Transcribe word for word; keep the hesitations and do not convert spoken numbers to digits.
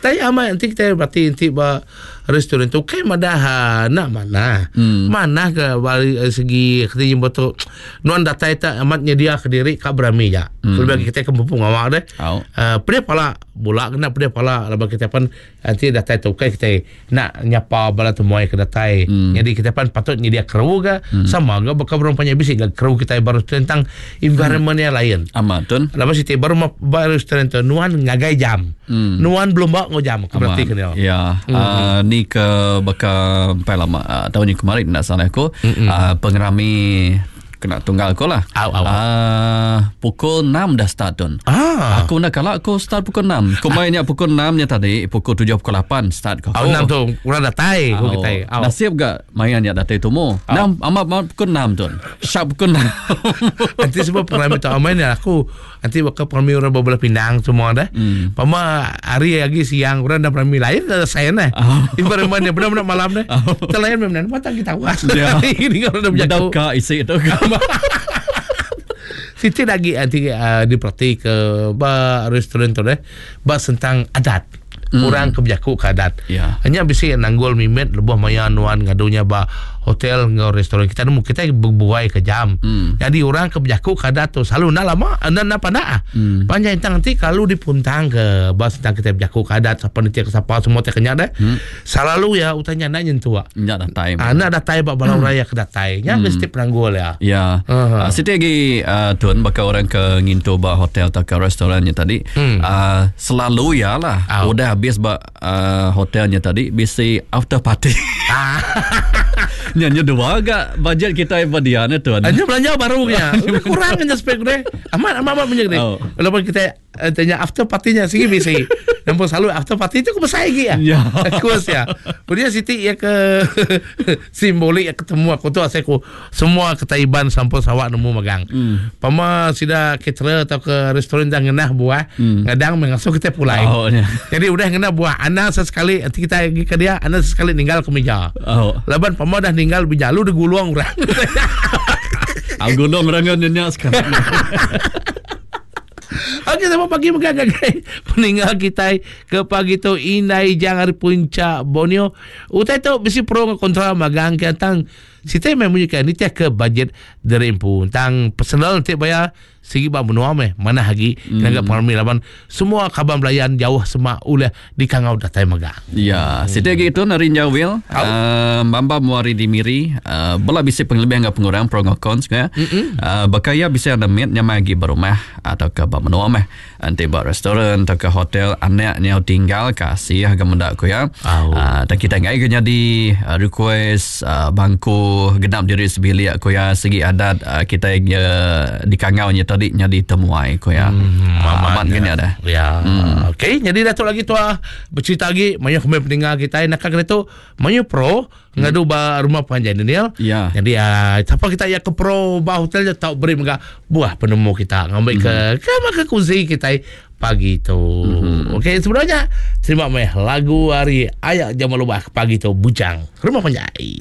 Tapi amat nanti kita berarti nanti ba restoran tu kai madah ha, nak mana. Hmm. Mana ke bari eh, segi kita jumpa tu nuan datai tak amat nyedia ke diri ka berami ja. Hmm. Lebih kita ke mumpung awak deh. Au. Uh, pedih pala bola kena pedih pala lepas kita pun nanti datai tu kai kita nak nyapa bala temuai ke datai. Hmm. Jadi kita pun patut nyedia kru ke hmm. sama ke bakal berumpanya bisik ke kru kita baru tentang environment yang lain. Amat tun. Lepas itu baru ma- baru restoran tu nuan ngagai jam. Hmm. Nuan belum bawa ngau jam. Aku berarti kena. Ya, Hmm. uh, ni ke baka empai lama uh, tahun yang kemarin nak salah aku uh, pengerami kena tunggal aku lah. Au, au, au. Uh, pukul enam dah start tun. Ah. Aku nak kalau aku start pukul enam. Aku mainnya pukul enam nya tadi, pukul tujuh pukul lapan start kau. Au enam tu kurang datai aku kita. Au. Nasib gak mainnya datai tumu. Enam amat amat pukul enam tun. Sharp pukul enam. Nanti sebab pengalami tak main ya aku nanti bakal pengalami orang berbelah pindang semua dah. Hmm. Pama hari lagi siang orang dah pengalami lain dah saya nah. Oh. Environment dia benar-benar malam dah. Oh. Terlayan memang mata kita was. Ya. Ini kalau dah Bedau berjaku. ka isi itu. Siti lagi nanti uh, diperhati ke ba restoran tu deh ba tentang adat. Hmm. Orang kebijaku ke adat. Ya. Hanya bisi nanggul mimet lebuh maya nuan ngadunya ba hotel ngau restoran kita nemu kita berbuai ke jam. Hmm. Jadi orang kebijaku ke adat tu selalu nak lama nak nak pandak. Hmm. Panjang tentang nanti kalau dipuntang ke ba tentang kita berjaku ke adat siapa nanti ke siapa semua tak kenyang dah. Hmm. Selalu ya utanya nak nyentuh. Nyak datai. Ah, nak datai ba balau raya ke datai. Nya mesti penanggul ya. Ya. Aha. Uh, Siti lagi uh, tuan bakal orang ke ngintu ba hotel atau ke restorannya tadi. Hmm. Uh, selalu ya lah. Au. Udah habis ba uh, hotelnya tadi bisi after party. Ah. Nyanyi dua agak bajet kita ba dia ni tuan. Hanya belanja baru nya. Udah kurang aja spek deh. Amat amat amat punya deh. Oh. Walaupun kita eh, tanya after party-nya sigi bisi. Nampak selalu after party itu aku besar lagi ya. Ya. Aku ya. Kemudian Siti ya ke simbolik ya ketemu aku tu asal aku semua ketaiban sampul sawak nemu magang. Hmm. Pama sida caterer atau ke restoran dah ngenah buah, Hmm. ngadang mengasuh kita pulai. Oh, ya. Jadi udah ngenah buah, ana sesekali nanti kita pergi ke dia, ana sesekali ninggal ke meja. Oh. Laban pama dah ninggal meja lu digulung orang. Aku gulung orang nyanyi sekarang. Okey, selamat pagi megang-gagai peninggal kita ke pagi tu Indai Jang hari puncak Borneo. Utai tu mesti pro dengan kontra magang ke tang sita memang bunyikan ni tiap ke bajet dari empu tang personal nanti bayar segi ba menua meh mana hagi hmm. kena pengalami laban semua kaban belayan jauh semak ulah di kangau datai magang. Ya, siti lagi itu nari jawil. Uh, Mamba muari di Miri, uh, bola bisa pengelebih enggak pengurang pro ngau cons ya. Uh, bakaya bisa ada mit nyamai lagi berumah atau ke ba menua meh. Nanti ba restoran atau ke hotel anaknya tinggal kasih agak mendak ku ya. Au. Uh, dan kita ngai ke jadi uh, request uh, bangku genap diri sebilik ku ya segi adat uh, kita uh, di kangaunya tadi nyadi temuai ku ya. Hmm, Uh, amat gini ada. Ya. Hmm. Okey, jadi Datuk lagi tua bercerita lagi banyak komen pendengar kita nak kena tu banyak pro ngadu ba rumah panjang Daniel. Ya. Jadi uh, siapa kita ya ke pro ba hotel je tak beri mega buah penemu kita ngambil ke ke maka kunci kita pagi tu. Hmm. Okey, sebenarnya terima meh lagu hari ayak jamal lubah pagi tu bujang rumah panjai.